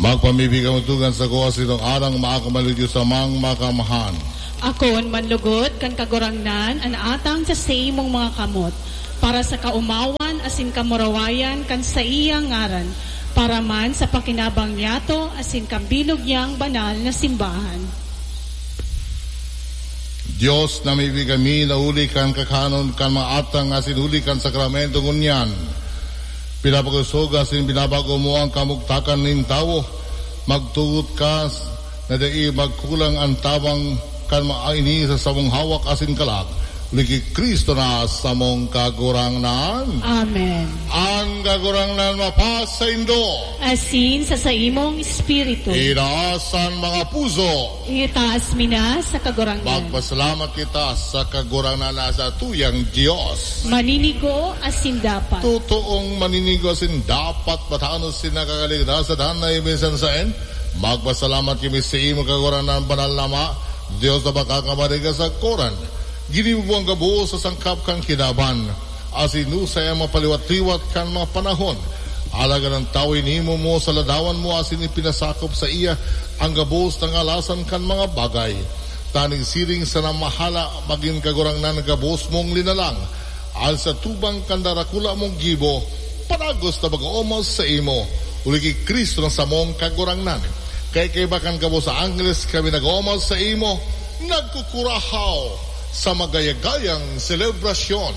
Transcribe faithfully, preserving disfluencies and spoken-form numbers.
Magpamibi kamo tugang sa kuwa sitong arang maakamalugyo samang makamhan. Akon manlugot kan Kagurangnan an atang sa saimong mga kamot, para sa kaumawan asin kamurawayan kan saiyang ngaran, para man sa pakinabang niyato asin kan bilog niyang banal na simbahan. Dios, namibi kami na huli kan kakanon kan mga atang asin huli kan sakramento ngunyan, pinapagusog asin binabago mo ang kamugtakan nin tawo. Magtugot ka na dai magkulang ang tabang kan mga ini sa samong hawak asin kalag. Huli ki Cristo na samong Kagurangnan. Amen. Ang Kagurangnan mapasaindo. Asin sa saimong espiritu. Itaas an mga puso. Itaas mi na sa Kagurangnan. Magpasalamat kita sa Kagurangnan na sa tuyang Dios. Maninigo asin dapat. Totoong maninigo asin dapat, matanos sin nakakaligtas sa danay minsan saen. Magpasalamat kami sa imo, Kagurangnan, banal na Ama, Dios na makakabariga sa koran. Ginibo mo ang gabos sa sangkap kan kinaban, asin hinusay an mapaliwat-liwat kan mga panahon. Alagad an tawo inimo mo sa ladawan mo asin ipinasakop sa iya ang gabos na ngalasan kan mga bagay. Tanganing siring sana mahala magin Kagurangnan gabos mong linalang. An sa tubang kan darakula mong gibo, padagos na mag-oomos sa imo. Huli ki Cristo na samong Kagurangnan. Kaya kaiba kan gabos sa anggeles kami nag-oomos sa imo, nagkukurahaw sa magayagayang selebrasyon.